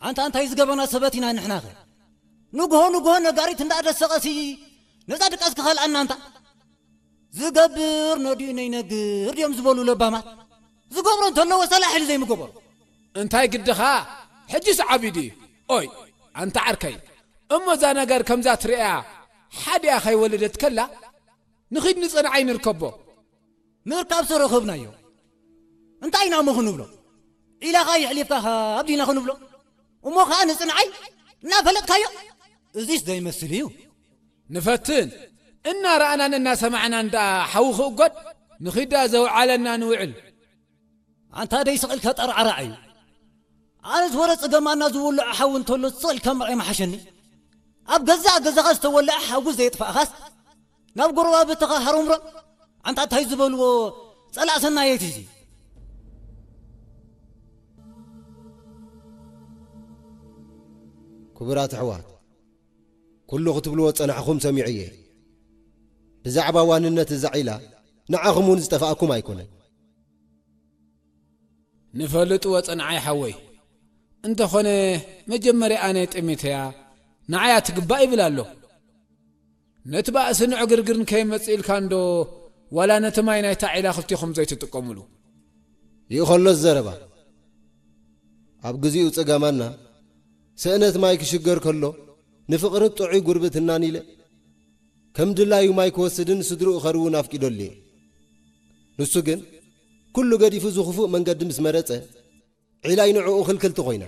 ኣንታ እንታይ ዝገበና ሰባት ኢና ንሕናኸ? ንግሆ ንግሆ ነጋሪት እንዳደሰቐሲ ነዛ ድቃስ ክኸልኣና ኣንታ። ዝገብር ነዲኡ ነይነግር ድዮም ዝበሉ ለባማት። ዝገብሮ እንተለዎ ሰላሕ ኢሉ ዘይምገበሩ። እንታይ ግድኻ? ሕጂስ ዓብዩ ድዩ? ኦይ፣ ኣንታ ዓርከይ፣ እሞ እዛ ነገር ከምዛ ትርእያ ሓዲኣ ከይወለደት ከላ፣ ንኺድ ንጽንዓይ ንርከቦ። ምርካብሲ ረኸብናዮ። እንታይ ኢና እሞ ክንብሎ? ዒላኻ የሕሊፍካ ሃብ ዲና ክንብሎ? እሞ ኸኣ ንጽንዓይ እናፈለጥካዮ? እዚስ ዘይመስል እዩ። ንፈትን፣ እናረኣናን እናሰማዕናን ደኣ ሓዊ ክእጎድ፣ ንኺዳ ዘውዓለና ንውዕል። ኣንታ ደይ ስቕ ኢልካ ጠርዓራዕ እዩ። ኣነስ ወረ ጽገማና ዝውልዖ ሓዊ እንተሎ ስቕ ኢልካ ምርኣይ ምሓሸኒ። ኣብ ገዛእ ገዛኻ ዝተወልዐ ሓዊ ዘየጥፋእኻስ፣ ናብ ጎረባብትኻ ሃሮምሮም። ኣንታ እንታይ ዝበልዎ ጸላእ ሰናየት እዚ። ክቡራት ኣሕዋት፣ ኩሉ ክትብልዎ ጸናሕኹም ሰሚዐ እየ። ብዛዕባ ዋንነት እዛ ዒላ ንዓኹም እውን ዝጠፋእኩም ኣይኮነን። ንፈልጥዎ ጸንዓይ ሓወይ። እንተኾነ መጀመርያ ኣነ ጠሜተያ ንዓያ ትግባእ ይብል ኣሎ። ነቲ ባእስን ዕግርግርን ከይመጽእ ኢልካ እንዶ ዋላ ነቲ ማይ ናይታ ዒላ ክልቲኹም ዘይትጥቀሙሉ። ይእኸሎ ዘረባ። ኣብ ግዚኡ ጸገማና ስእነት ማይ ክሽገር ከሎ ንፍቕርን ጥዑይ ጉርብትናን ኢለ ከም ድላዩ ማይ ክወስድን ስድርኡ ኸርውን ኣፍቂደሉ እየ። ንሱ ግን ኩሉ ገዲፉ እዚ ክፉእ መንገዲ ምስ መረጸ ዒላይ ንዕኡ ክልክልቲ ኮይና።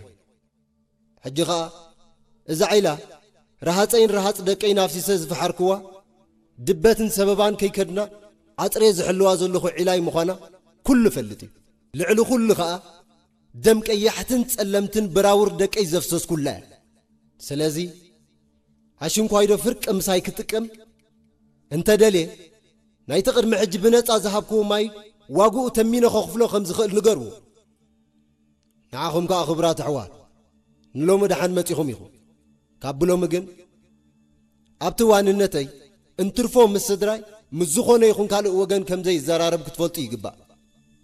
ሕጂ ኸኣ እዛ ዒላ ረሃጸይን ረሃጽ ደቀይን ኣፍሲሰ ዝፈሓርክዋ ድበትን ሰበባን ከይከድና ዓጽርየ ዝሕልዋ ዘለኹ ዒላይ ምዃና ኩሉ ፈልጥ እዩ። ልዕሊ ኩሉ ኸኣ ደም ቀያሕትን ጸለምትን ብራውር ደቀይ ዘፍሰስኩላ እያ። ስለዚ ኣሽንኳይዶ ፍርቂ ምሳይ ክጥቀም እንተ ደልየ ናይቲ ቅድሚ ሕጂ ብነጻ ዝሃብክዎ ማይ ዋግኡ ተሚነ ከኽፍሎ ከም ዝኽእል ንገርዎ። ንዓኹም ከኣ ክቡራት ኣሕዋት ንሎሚ ደሓን መጺኹም ኢኹም። ካብ ብሎሚ ግን ኣብቲ ዋንነተይ እንትርፎ ምስ ስድራይ ምስ ዝኾነ ይኹን ካልእ ወገን ከም ዘይዘራረብ ክትፈልጡ ይግባእ።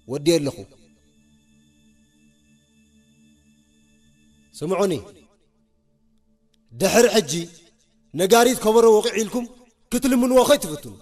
ወዲ ኣለኹ። ስምዑኒ፣ ድሕሪ ሕጂ ነጋሪት ከበሮ ወቕዕ ኢልኩም ክትልምንዎ ከይትፍትኑ።